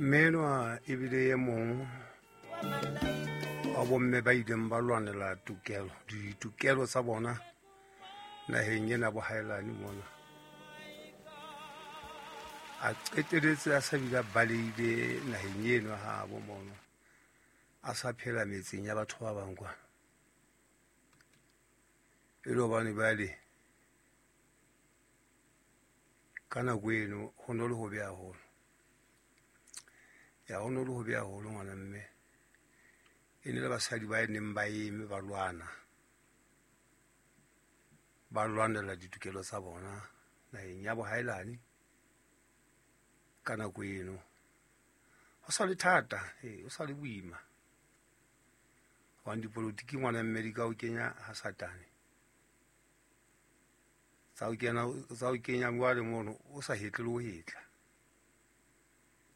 Mme enwa ebile e mong wa bomme ba ileng ba lwanela tokelo, ditokelo tsa bona naheng ena bohaelane mona. A qeteletse a sa bile a balehile naheng eno habo mono, a sa phela metseng ya batho ba bang kwana. E le hobane bale ka nako eno ho no le hobe haholo. Ya ho no le hobe haholo ngwana mme. E ne le basadi ba neng ba eme ba lwana. Ba lwanela ditokelo tsa bona naheng ya bohaelane ka nako eno. Ho sa le thata, ho sa le boima. Hobane dipolotiki ngwana mme di ka o kenya ha Satane. Tsa o kena, tsa o kenya jwale mono o sa hetle le ho hetla.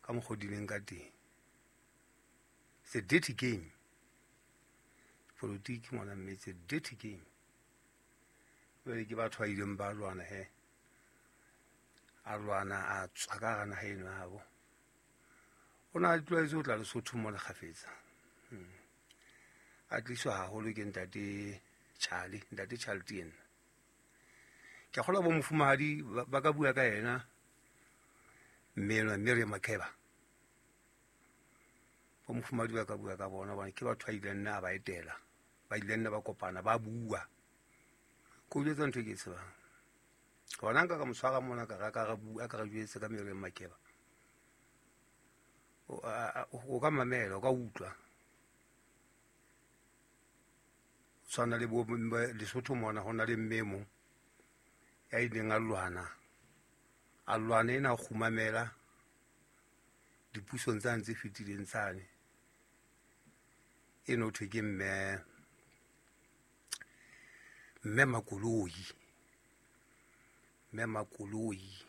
Ka mokgwa o di leng ka teng. It's a dirty game. Dipolotiki ngwana mme, it's a dirty game. Jwale ke batho ba ileng ba lwana he. A lwana a tswa ka hara naha eno habo. O na tlwaetse ho tla Lesotho mona kgafetsa. A tliswa haholo ke ntate Charlie, ntate Charlie Tien. Ke kgolwa bo mofumahadi ba ka bua ka yena mme enwa Miriam Makeba. Bo mofumahadi ba ka bua ka bona hobane ke batho ba ileng nna a ba etela, ba ileng nna ba kopana ba bua. Ko jwetsa ntho e ke e tsebang. Hona nka ka mo tshwara mona ka ra ka ra bua ka ra jwetse ka Miriam Makeba. O ka mamela, o ka utlwa. Tshwana le bo Lesotho mona ho na le mme e mong ya ileng a lwana. A lwana ena a kgumamela dipusong tsane tse fetileng tsane. Eno thwe ke mme, mme Makoloi. Mme Makoloi.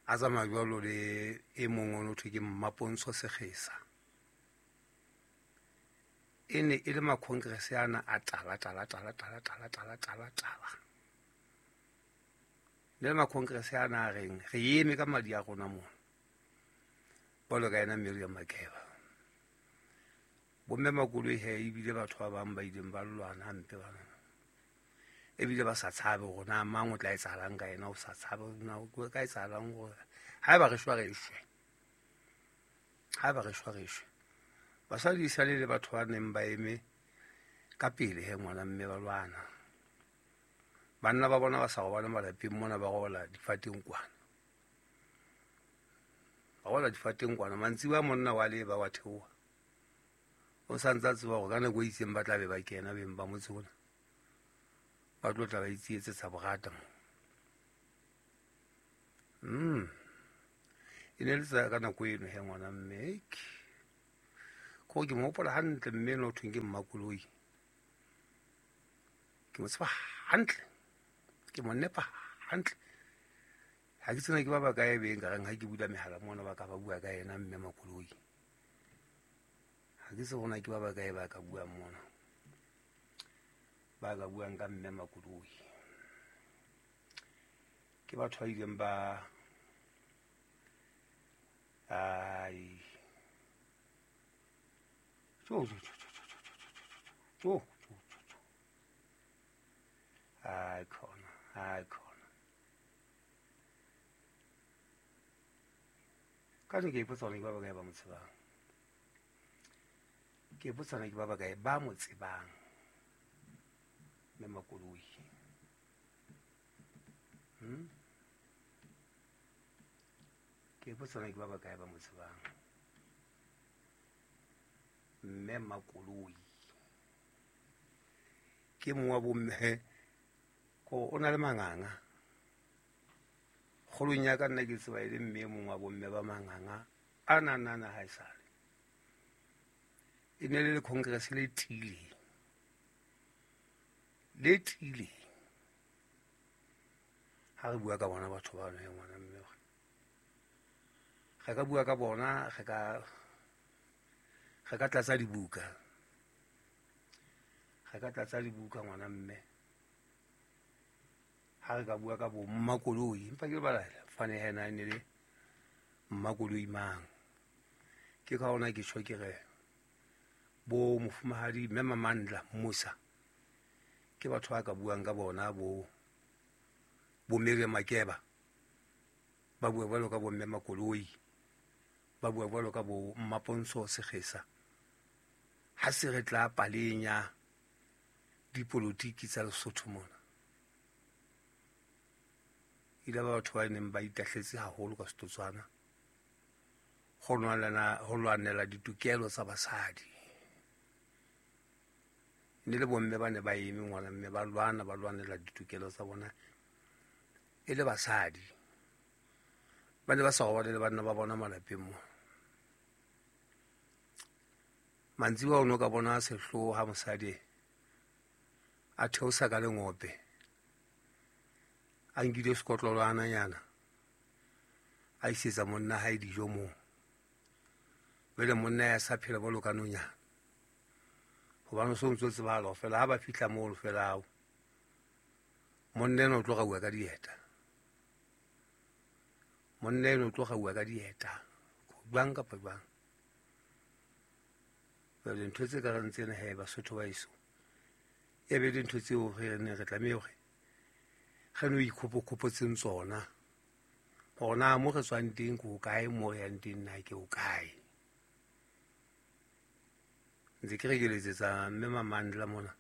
A tsamaya jwalo le e mong ono thwe ke Mmapontsho Sekgesa. E ne e le ma-congress ana a tala, tala, tala, tala, tala, tala, tala, tala. Ne le ma-congress ana a reng re eme ka madi a rona mona. Jwalo ka yena Miriam Makeba. Bomme Makoloi he ebile batho ba bang ba ileng ba lwana hampe bana. Ebile ba sa tshabe hore na mang o tla etsahalang ka yena, o sa tshabe hore na o ka etsahalang hore haeba re shwa re shwe. Haeba re shwa re shwe. Basadi e sale le batho ba neng ba eme ka pele he ngwana mme ba lwana. Banna ba bona ba sa robale malapeng mona, ba robala difateng kwana. Ba robala difateng kwana. Mantsibuya monna wa leba wa theoha. O sa ntse a tseba hore ka nako e itseng ba tla be ba kena beng ba motse ona. Ba tlo tla ba itsietsetsa borata mo. E ne le tsa ka nako eno he ngwana mme. Ko ke mo hopola hantle mme eno ho thweng ke Mmakoloi. Ke mo tseba hantle. Ke mo nepa hantle. Ha ke tsena ke ba bakae beng ka reng ha ke bula mehala mona ba ka ba bua ka yena mme Makoloi. Ha ke tsebe hore na ke ba bakae ba ka buang mona. Ba ka buang ka mme Makoloi. Ke batho ba ileng ba ai tjo tjo tjo tjo tjo tjo tjo tjo tjo tjo. Ai khona, ai khona. Ka ke ipotsa hore ke ba bakae ba mo tsebang. Ke ipotsa hore ke ba bakae ba mo tsebang. Mme Makoloi. Ke ipotsa hore ke ba bakae ba mo tsebang. Mme Makoloi. Ke mong wa bomme ko o na le manganga. Kgolong ya ka nna ke tseba e le mme e mong wa bomme ba manganga a na na na ha esale. E ne le le congress le tiileng. Le tiileng. Ha re bua ka bona batho ba no ngwana mme. Re ka bua ka bona, re ka tlatsa dibuka. Re ka tlatsa dibuka ngwana mme. Ha re ka bua ka bo Mmakoloi, empa ke lebala fane hena e ne le Mmakoloi mang. Ke ka hona ke tjho ke re bo mofumahadi Mme Mamandla Musa ke batho ba ka buang ka bona, bo bo Miriam Makeba ba bua jwalo ka bo Mme Makoloi, ba bua jwalo ka bo Mmapontsho Sekgesa. Ha se re tla paleng ya dipolotiki tsa Lesotho mona, ile ba batho ba neng ba itahletse haholo ka setotswana ho lwanela ditokelo tsa basadi. Ne le bomme ba ne ba eme ngwana mme ba lwana, ba lwanela ditokelo tsa bona e le basadi. Ba ne ba sa robale le banna ba bona malapeng mo. Mantsibuya o no ka bona sehloho ha mosadi a theosa ka lengope, a nkile sekotlolwananyana, a isetsa monna hae dijo moo. Jwale monna ya sa phela jwalo ka nonyana, hobane o so ntso tsebahala hore fela ha ba fihla moo fela ao, monna enwa o tlo rauwa ka dieta. Monna enwa o tlo rauwa ka dieta, jwang kapa jwang. Jwale ntho tse ka reng tsena he Basotho ba heso, e be dintho tseo re neng re tlameha hore re no ikhopokgopotseng tsona, hore na mo re tswang teng ke hokae, mo re yang teng na ke hokae. Ntse ke re ke letsetsa Mme Mamandla mona,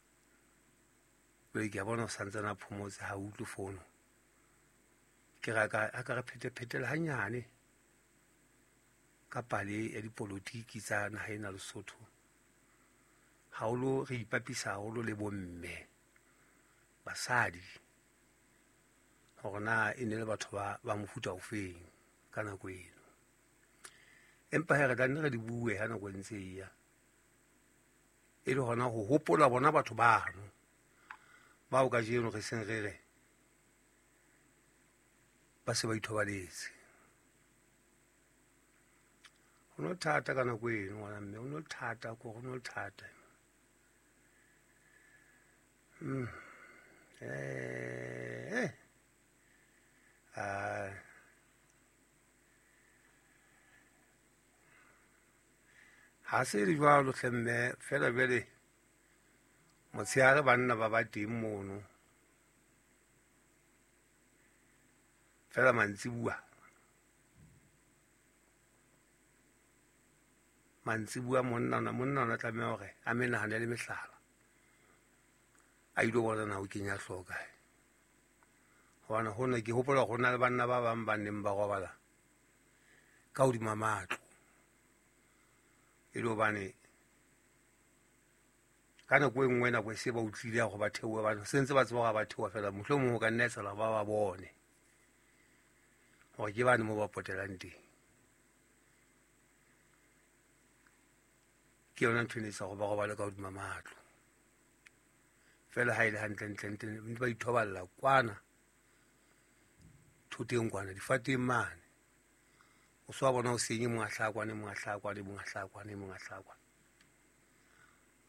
jwale ke a bona o santsane a phomotse, ha utlwe fono. Ke re a ka re phetephetele hanyane ka pale ya dipolotiki tsa naha ena Lesotho. Haholo re ipapisa haholo le bomme, basadi, hore na e ne le batho ba mofuta ofeng ka nako eno. Empa he re tla nne re di bue ha nako e ntse e ya, e le hona ho hopola bona batho bano bao kajeno re seng re re ba se ba ithobaletse. Ho no thata ka nako eno ngwana mme, ho no thata, ko ho no thata. Ha se le jwalo hle mme, fela jwale motshehare banna ba ba teng mono. Fela mantsibuya, mantsibuya monna ona tlameha hore a menahane le mehlala, a ilo bona na o kenya hlooho kae. Hobane hona ke hopola hore ho na le banna ba bang ba neng ba robala ka hodima matlo, e le hobane ka nako e nngwe nako e se ba utlwile hore ba theohe, ba se ntse ba tseba hore ba theoha fela, mohlomong ho ka nna etsahala ba ba bone hore ke bane moo ba potelang teng. Ke yona ntho e ne etsa hore ba robale ka hodima matlo. Fela ha e le hantle, ntle, ntle, ntse ba ithoballa kwana thoteng kwana, difateng mane. O so wa bona ho seng e mong a hlaha kwana, e mong a hlaha kwana, e mong a hlaha kwana, e mong a hlaha kwana.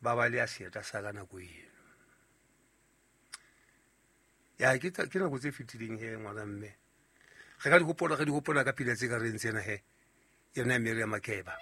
Ba ba le ya seeta sa ka nako eno. Ya, ke nako tse fetileng he ngwana mme. Re ka di hopola, re di hopola ka pina tse ka reng tsena he, yona ya Miriam Makeba.